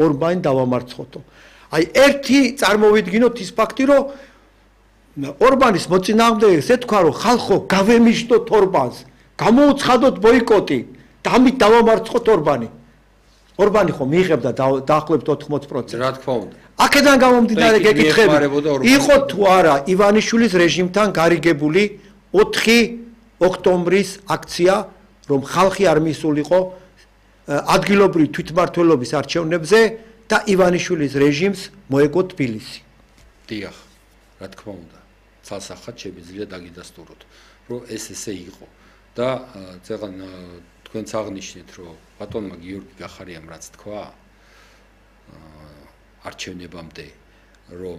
ორბანი დავამარცხოთო. აი ერთი წარმოვიდგინოთ ის ფაქტი, რომ ორბანის მოწინააღმდეგე ეთქვა, რომ ხალხო გავემიშტოთ ორბანს, გამოუცხადოთ ბოიკოტი და ამით დავამარცხოთ ორბანი. ორბანი ხო მიიღებდა დაახლოებით 80%. რა თქმა უნდა. აქედან გამომდინარე გეკითხები, იყო თუ არა ივანიშვილის რეჟიმთან გარიგებული 4 ოქტომბრის აქცია, რომ ხალხი არ მიისულიყო ადგილობრივი თვითმმართველობის არჩევნებზე და ივანიშვილის რეჟიმს მოეგო თბილისი. დიახ, რა თქმა უნდა. ცალსახად შემიძლია დაგიდასტუროთ, რომ ეს ესე იყო და ზეგან თქვენც აღნიშნეთ, რომ ბატონმა გიორგი გახარიამ რაც თქვა არჩევნებამდე, რომ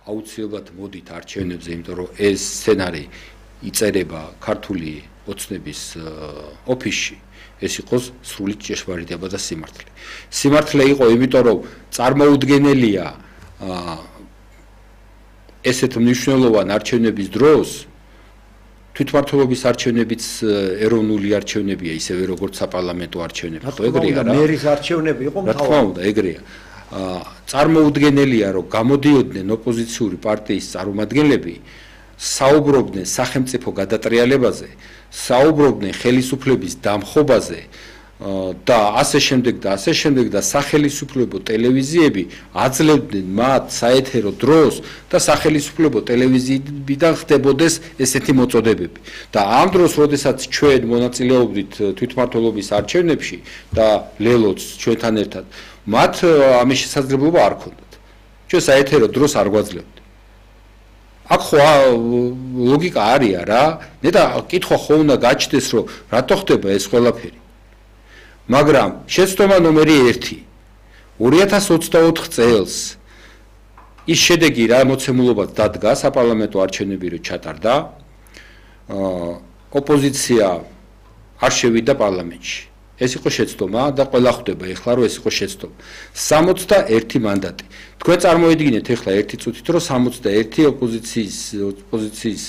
აუცილებლად მოდით არჩევნებზე, იმიტომ რომ ეს სცენარი იწერება ქართული ოცნების ოფისში, ეს იყოს სრული ჭეშმარიტება და სიმართლე. სიმართლე იყო, იმიტომ რომ წარმოუდგენელია ესეთ მნიშვნელოვან არჩევნების დროს თვითმმართველობის არჩევნებიც ეროვნული არჩევნებია, ისევე როგორც საპარლამენტო არჩევნები, ხო ეგრეა რა? მერის არჩევნები იყო მთავარი. რა თქმა უნდა, ეგრეა. წარმოუდგენელია, რომ გამოდიოდნენ ოპოზიციური პარტიის წარმომადგენლები, საუბრობდნენ სახელმწიფო გადატრიალებაზე, საუბრობდნენ ხელისუფლების დამხობაზე და ასე შემდეგ და სახელისუფლებო ტელევიზიები აძლევდნენ მათ საეთერო დროს და სახელისუფლებო ტელევიზიებიდან ხდებოდეს ესეთი მოწოდებები. და ამ დროს, როდესაც ჩვენ მონაწილეობდით თვითმმართველობის არჩევნებში და ლელოც ჩვენთან ერთად, მათ ამის შესაძლებლობა არ ჰქონდათ. ჩვენ საეთერო დროს არ გვაძლევთ. აქ ხო ლოგიკა არია რა, და კითხვა ხო უნდა გაჩნდეს, რომ რატო ხდება ეს ყველაფერი. მაგრამ შეცდომა ნომერი 1 2024 წელს ის შედეგი რა მოცემულობად დადგა საპარლამენტო არჩევნები რო ჩატარდა, ოპოზიცია არ შევიდა პარლამენტში. ეს იყო შეცდომა და ყველა ხვდება ეხლა რომ ეს იყო შეცდომა. 61 მანდატი. თქვენ წარმოიდგინეთ ეხლა ერთი წუთით რომ 61 ოპოზიციის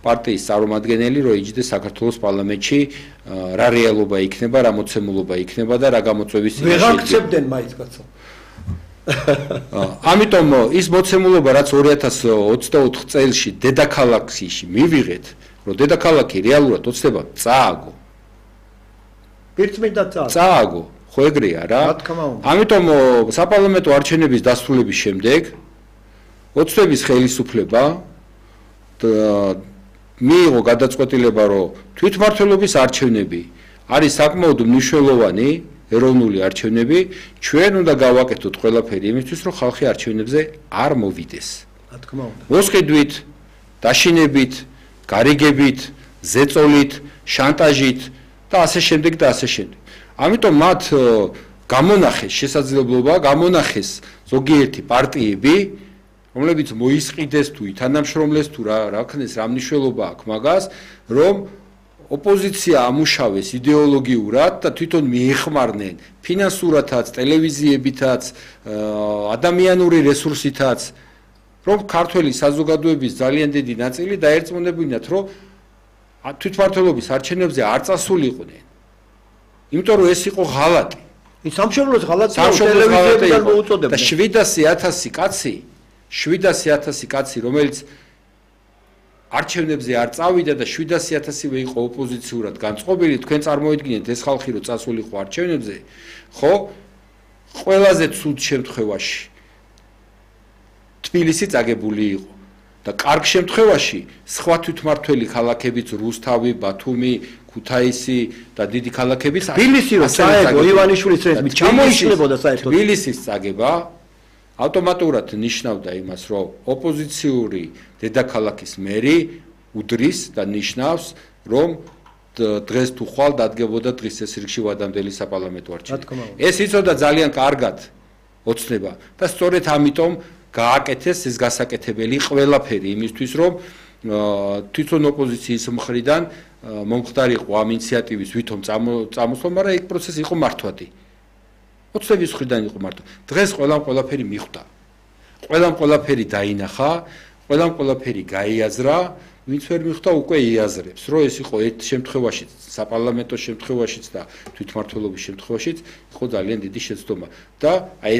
პარტიის წარმომადგენელი რო იჯდეს საქართველოს პარლამენტში, რა რეალობა იქნება, რა მოცემულობა იქნება და რა გამოწვევის იქნება. ვეღარ გწებდნენ მაინც კაცო. ამიტომ ის მოცემულობა რაც 2024 წელში დედაქალაქში მივიღეთ, რომ დედაქალაქი რეალურად ოცნება წააგო. წააგო, ხო ეგრეა რა. ამიტომ საპარლამენტო არჩევნების დასრულების შემდეგ ოცნების ხელისუფლება მიიღო გადაწყვეტილება, რომ თვითმმართველობის არჩევნები არის საკმაოდ მნიშვნელოვანი ეროვნული არჩევნები, ჩვენ უნდა გავაკეთოთ ყველაფერი იმისთვის, რომ ხალხი არჩევნებზე არ მოვიდეს. რა თქმა უნდა. მოსყიდვით, დაშინებით, გარიგებით, ზეწოლით, შანტაჟით და ასე შემდეგ და ასე შემდეგ. ამიტომ მათ გამონახეს შესაძლებლობა, გამონახეს ზოგიერთი პარტიები, რომლებიც მოისყიდეს თუ ითანამშრომლეს თუ რა ქნეს, რა მნიშვნელობა აქვს მაგას, რომ ოპოზიცია ამუშავეს იდეოლოგიურად და თვითონ მიეხმარნენ ფინანსურათაც, ტელევიზიებითაც, ადამიანური რესურსითაც, რომ ქართველი საზოგადოების ძალიან დიდი ნაწილი დაერწმუნებინათ, რომ თვითმმართველობის არჩევნებზე არ წასულიყვნენ. იმიტომ რომ ეს იყო ღალატი. სამშობლოს ღალატი ტელევიზიებიდან მოუწოდებდნენ. და 700,000 კაცი, რომელიც არჩევნებზე არ წავიდა და 700,000-ივე იყო ოპოზიციურად განწყობილი, თქვენ წარმოიდგინეთ ეს ხალხი რო წასულიყო არჩევნებზე, ხო? ყველაზე ცუდ შემთხვევაში თბილისი წაგებული იყო. და კარგ შემთხვევაში სხვა თვითმმართველი ქალაქებიც რუსთავი, ბათუმი, ქუთაისი და დიდი ქალაქებიც თბილისი რო წაეგო ივანიშვილის რეჟიმით ჩამოიშლებოდა საერთოდ. თბილისის წაგება ავტომატურად ნიშნავდა იმას, რომ ოპოზიციური დედაქალაქის მერი უდრის და ნიშნავს, რომ დღეს თუ ხვალ დადგებოდა დღის წესრიგში ვადამდელი საპარლამენტო არჩევნები. ეს იცოდა ძალიან კარგად ოცნება და სწორედ ამიტომ გააკეთეს ეს გასაკეთებელი ყველაფერი იმისთვის, რომ თვითონ ოპოზიციის მხრიდან მომხდარიყო ამ ინიციატივის ვითომ წამოსვლა, მაგრამ ეგ პროცესი იყო მართვადი. ოცნების მხრიდან იყო მართვა. დღეს ყველამ ყველაფერი მიხვდა. ყველამ ყველაფერი დაინახა, ყველამ ყველაფერი გაიაზრა ვინც ვერ მიხვდა უკვე იაზრებს, რომ ეს იყო ერთ შემთხვევაშიც, საპარლამენტო შემთხვევაშიც და თვითმმართველობის შემთხვევაშიც იყო ძალიან დიდი შეცდომა და აი ეს